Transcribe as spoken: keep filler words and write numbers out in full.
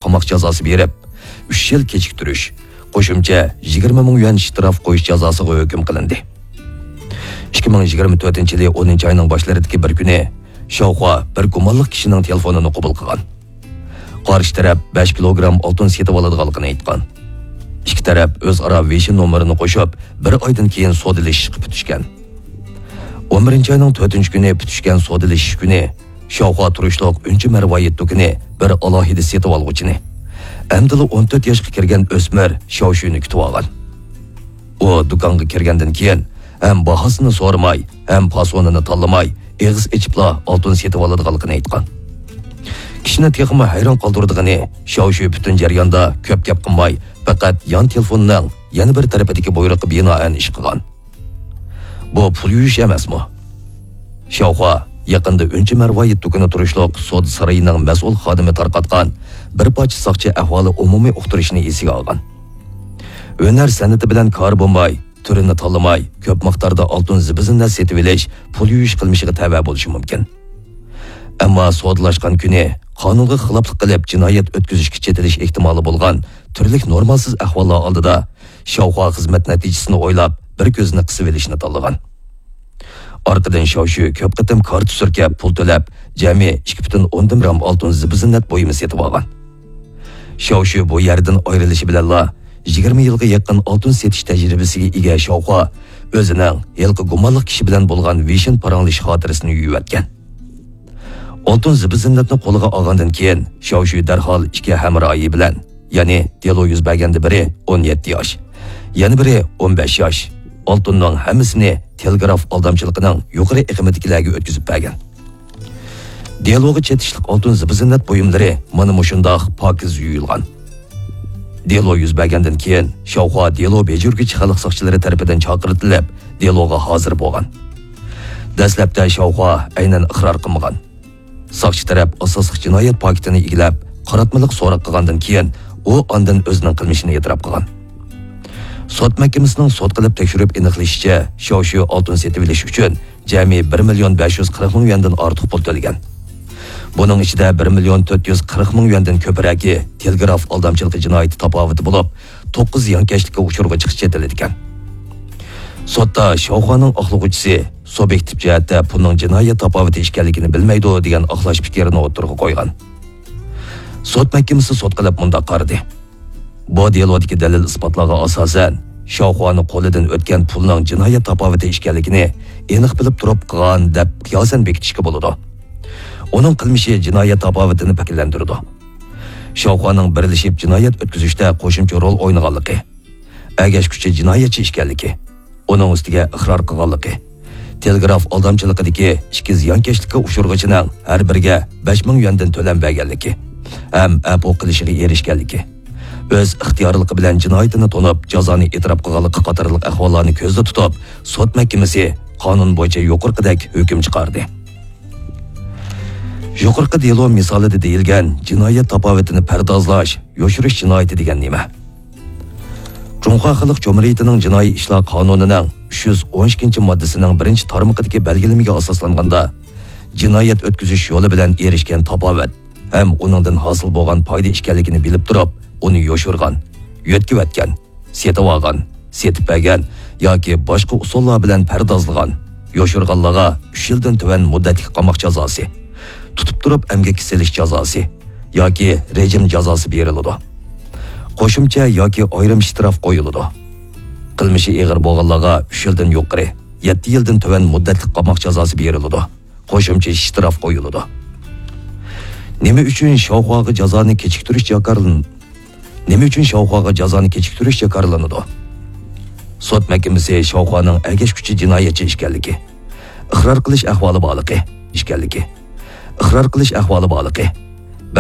قاماق جازاسى بېرىپ، ئۈچ يىل كېچىكتۈرۈش، قوشۇمچە يىگىرمە مىڭ يۈەن شتراف قويۇش جازاسىغا ھۆكۈم قىلىندى. ئىككى مىڭ يىگىرمە تۆتىنچى يىلى ئونىنچى ئاينىڭ باشلىرىدىكى بىر كۈنى شاۋخۇا بىر گۇمانلىق كىشىنىڭ تېلېفونىنى قوبۇل قىلغان. قارشى تەرەپ بەش كىلوگرام ئالتۇن سېتىۋالىدىغانلىقىنى ئېيتقان. ئىككى تەرەپ ئۆزئارا ۋېيشىن نومۇرىنى قوشۇپ، بىر ئايدىن كېيىن سودىلىشىشقا پۈتۈشكەن. ئون بىرىنچى ئاينىڭ تۆتىنچى كۈنى پۈتۈشكەن سودىلىشىش كۈنى شاۋخۇا تۇرۇشلۇق ئۈنچە مەرۋايىت دۇكىنى بىر ئالاھىدە سېتىۋالغۇچىنى، ئەمدىلا ئون تۆت ياشقا كىرگەن ئۆسمۈر شياۋشۈنى كۈتۈۋالغان. ئۇ دۇكانغا كىرگەندىن كېيىن ھەم باھاسىنى سورىماي، ھەم پاسونىنى تاللىماي، ئېغىز ئېچىپلا ئالتۇن سېتىۋالىدىغانلىقىنى ئېيتقان. كىشىنى تېخىمۇ ھەيران قالدۇرىدىغىنى، شياۋشۈ پۈتۈن جەرياندا كۆپ گەپ قىلماي، پەقەت يان تېلېفوننىڭ يەنە بىر تەرىپىدىكى بۇيرۇققا بىنائەن ئىش قىلغان. بۇ پۇل يۇيۇش ئەمەسمۇ؟ شاۋخۇا يېقىندا ئۈنچە مەرۋايىت دۇكىنى تۇرۇشلۇق سودا سارىيىنىڭ مەسئۇل خادىمى تارقاتقان بىر پارچە ساقچى ئەھۋالى ئومۇمىي ئۇقتۇرۇشنى ئېسىگە ئالغان. ھۈنەر سەنئىتى بىلەن كارى بولماي، تۈرىنى تاللىماي، كۆپ مىقداردا ئالتۇن زىبۇ-زىننەت سېتىۋېلىش پۇل يۇيۇش قىلمىشىغا تەۋە بولۇشى مۇمكىن. ئەمما سودىلاشقان كۈنى قانۇنغا خىلاپلىق قىلىپ جىنايەت ئۆتكۈزۈشكە چېتىلىش ئېھتىمالى بولغان تۈرلۈك نورمالسىز ئەھۋاللار ئالدىدا شاۋخۇا خىزمەت نەتىجىسىنى ئويلاپ، بىر كۆزىنى قىسىۋېلىشنى تاللىغان. ئارقىدىن شياۋشۈ كۆپ قېتىم كارتا سۈركەپ پۇل تۆلەپ، جەمئىي ئىككى پۈتۈن ئوندىن بىر گرام ئالتۇن زىبۇ-زىننەت بۇيۇمى سېتىۋالغان. شياۋشۈ بۇ يەردىن ئايرىلىشى بىلەنلا، يىگىرمە يىلغا يېقىن ئالتۇن سېتىش تەجرىبىسىگە ئىگە شاۋخۇا ئۆزىنىڭ ھېلىقى گۇمانلىق كىشى بىلەن بولغان ۋېيشىن پاراڭلىشىش خاتىرىسىنى يۇيۇۋەتكەن. ئالتۇن زىبۇ-زىننەتنى قولىغا ئالغاندىن كېيىن، شياۋشۈ دەرھال ئىككى ھەمراھى بىلەن، يەنى دېلو يۈز بەرگەندە بىرى ئون يەتتە ياش، يەنە بىرى ئون بەش ياش، ئالتۇننىڭ ھەممىسىنى تېلېگراف ئالدامچىلىقىنىڭ يۇقىرى ئېقىمىدىكىلەرگە ئۆتكۈزۈپ بەرگەن. دېلوغا چېتىشلىق ئالتۇن زىبۇ-زىننەت بۇيۇملىرى مانا مۇشۇنداق پاكىز يۇيۇلغان. دېلو يۈز بەرگەندىن كېيىن، شاۋخۇا دېلو بېجىرگۈچى خەلق ساقچىلىرى تەرىپىدىن چاقىرتىلىپ، دېلوغا ھازىر بولغان. دەسلەپتە شاۋخۇا ئەينەن ئىقرار قىلمىغان. ساقچى تەرەپ ئاساسلىق جىنايەت پاكىتىنى ئىگىلەپ، قاراتمىلىق سوراق قىلغاندىن كېيىن، ئۇ ئاندىن ئۆزىنىڭ قىلمىشىنى ئېتىراپ قىلغان. سوت مەھكىمىسىنىڭ سوت قىلىپ تەكشۈرۈپ ئېنىقلىشىچە، شياۋشۈ ئالتۇن سېتىۋېلىش ئۈچۈن جەمئىي بىر مىليون بەش يۈز قىرىق مىڭ يۈەندىن ئارتۇق پۇل تۆلىگەن. بۇنىڭ ئىچىدە بىر مىليون تۆت يۈز قىرىق مىڭ يۈەندىن كۆپرەكى تېلېگراف ئالدامچىلىقى جىنايىتى تاپاۋىتى بولۇپ، توققۇز زىيانكەشلىككە ئۇچۇرغا چىقىش چېتىلىدىكەن. سوتتا شاۋخۇانىڭ ئاقلىغۇچىسى سۇبيېكتىپ جەھەتتە پۇلنىڭ جىنايەت تاپاۋىتى ئىكەنلىكىنى بىلمەيدۇ دېگەن ئاقلاش پىكرىنى ئوتتۇرىغا قويغان. سوت مەھكىمىسى سوت قىلىپ مۇنداق قارىدى. بۇ دېلودىكى دەلىل-ئىسپاتلارغا ئاساسەن، شاۋخۇانىڭ قولىدىن ئۆتكەن پۇلنىڭ جىنايەت تاپاۋىتى ئىكەنلىكىنى ئېنىق بىلىپ تۇرۇپ قىلغان دەپ قىياسەن بېكىتىشكە بولىدۇ. ئۇنىڭ قىلمىشى جىنايەت تاپاۋىتىنى شەكىللەندۈرىدۇ. شاۋخۇانىڭ بىرلىشىپ جىنايەت ئۆتكۈزۈشتە قوشۇمچە رول ئوينىغانلىقى، ئەگەشكۈچى جىنايەتچى ئىكەنلىكى، ئۇنىڭ ئۈستىگە ئىقرار قىلغانلىقى، تېلېگراف ئالدامچىلىقىدىكى ئىككى زىيانكەشلىككە ئۇچرىغۇچىنىڭ ھەر بىرىگە بەش مىڭ يۈەندىن تۆلەم بەرگەنلىكى ھەم ئەپۇ قىلىشىغا ئېرىشكەنلىكى، ئۆز ئىختىيارلىقى بىلەن جىنايىتىنى تونۇپ، جازانى ئېتىراپ قىلغانلىقى قاتارلىق ئەھۋاللارنى كۆزدە تۇتۇپ، سوت مەھكىمىسى قانۇن بويىچە يۇقىرىقىدەك ھۆكۈم چىقاردى. يۇقىرىقى دېلو مىسالىدا دېيىلگەن جىنايەت تاپاۋىتىنى پەردازلاش، يوشۇرۇش جىنايىتى دېگەن نېمە؟ جۇڭخۇا خەلق جۇمھۇرىيىتىنىڭ جىنايى ئىشلار قانۇنىنىڭ ئۈچ يۈز ئون ئىككىنچى ماددىسىنىڭ بىرىنچى تارمىقىدىكى بەلگىلىمىگە ئاساسلانغاندا، جىنايەت ئۆتكۈزۈش يولى بىلەن ئېرىشكەن تاپاۋەت ھەم ئۇنىڭدىن ھاسىل بولغان پايدا ئىكەنلىكىنى بىلىپ تۇرۇپ، ئۇنى يوشۇرغان، يۆتكىۋەتكەن، سېتىۋالغان، سېتىپ بەرگەن ياكى باشقا ئۇسۇللار بىلەن پەردازلىغان، يوشۇرغانلارغا ئۈچ يىلدىن تۆۋەن مۇددەتلىك قاماق جازاسى، تۇتۇپ تۇرۇپ ئەمگەككە سېلىش جازاسى ياكى رېجىم جازاسى بېرىلىدۇ. قوشۇمچە ياكى ئايرىم شتراف قويۇلىدۇ. قىلمىشى ئېغىر بولغانلارغا ئۈچ يىلدىن يۇقىرى، يەتتە يىلدىن تۆۋەن مۇددەتلىك قاماق جازاسى بېرىلىدۇ. قوشۇمچە شتراف قويۇلىدۇ. نېمە ئۈچۈن شاۋخۇاغا جازانى كېچىكتۈرۈش جاكارلىن-، نېمە ئۈچۈن شاۋخۇاغا جازانى كېچىكتۈرۈش جاكارلىنىدۇ؟ سوت مەھكىمىسى شاۋخۇانىڭ ئەگەشكۈچى جىنايەتچى ئىكەنلىكى، ئىقرار قىلىش ئەھۋالى بارلىقى، ئىكەنلىكى، ئىقرار قىلىش ئەھۋالى بارلىقى،